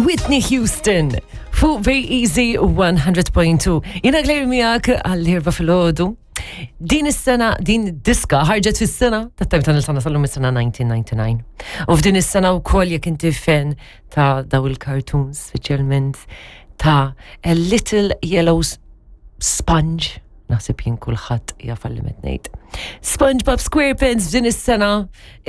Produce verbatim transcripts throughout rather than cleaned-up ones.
Whitney Houston fuq Very Easy one hundred point two. Jiena Claire, miegħek għall-erbgħa filgħodu. Din is-sena, din diska ħarġet fis-sena ta' time ta' sena sal-lum, is-sena elf disa' mija u disgħa u disgħin. U f'din is-sena wkoll, jekk inti fan ta' daw il-cartoons, speċjalment ta' A Little Yellow Sponge, naħseb jien kulħadd jaf li qed ngħid. SpongeBob SquarePants, f'din is-sena,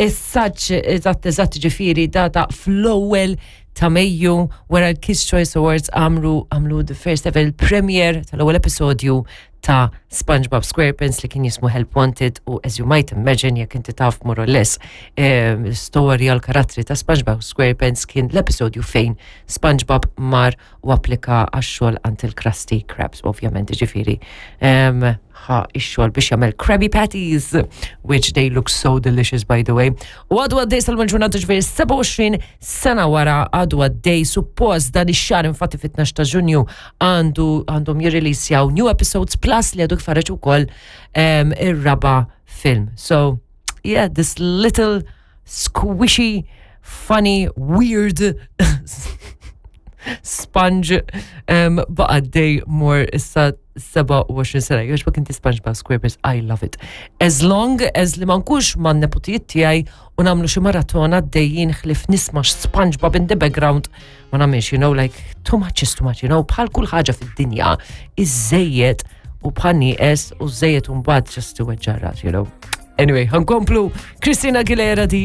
is-saċ eżatt eżatt, ġifieri data fl-ewwel ta' Mejju, wara l-Kids Choice Awards, għamlu għamlu the first ever premiere tal-ewwel episodju ta' SpongeBob SquarePants li kien jismu Help Wanted. U as you might imagine, jekk inti taf more or less eh, storja l-karattri ta' SpongeBob SquarePants, kien l-episodju fejn SpongeBob mar u applika għax-xogħol għand il-Krusty Krabs, ovvjament, ġifieri um, ħa ix-xogħol biex jagħmel Krabby Patties, which they look so delicious, by the way. U għadu għaddej sal-ġurnata, ġifieri sebgħa u għoxrin sena wara għadu għaddej. Suppost dan ix-xahar, infatti fit-tnax ta' Ġunju, għandu għandhom jirrilisjaw new episodes, plus li għadu kif ħareġ ukoll um, ir-raba film. So, yeah, this little squishy, funny, weird sponge um, baqa' għaddej more issa sebgħa u għoxrin sena. Jogħġbok inti SpongeBob SquarePants? I love it. As long as li ma nkunx man neputijiet tiegħi u nagħmlu xi maratona dejjin ħlif nisma' SpongeBob in the background, ma nagħmilx, you know, like, too much is too much, you know, bħal kull ħaġa fid-dinja, iż-żejjed u bħal nieqes u żejjed u mbagħad just to you know. Anyway, ħa nkomplu Christina Aguilera di.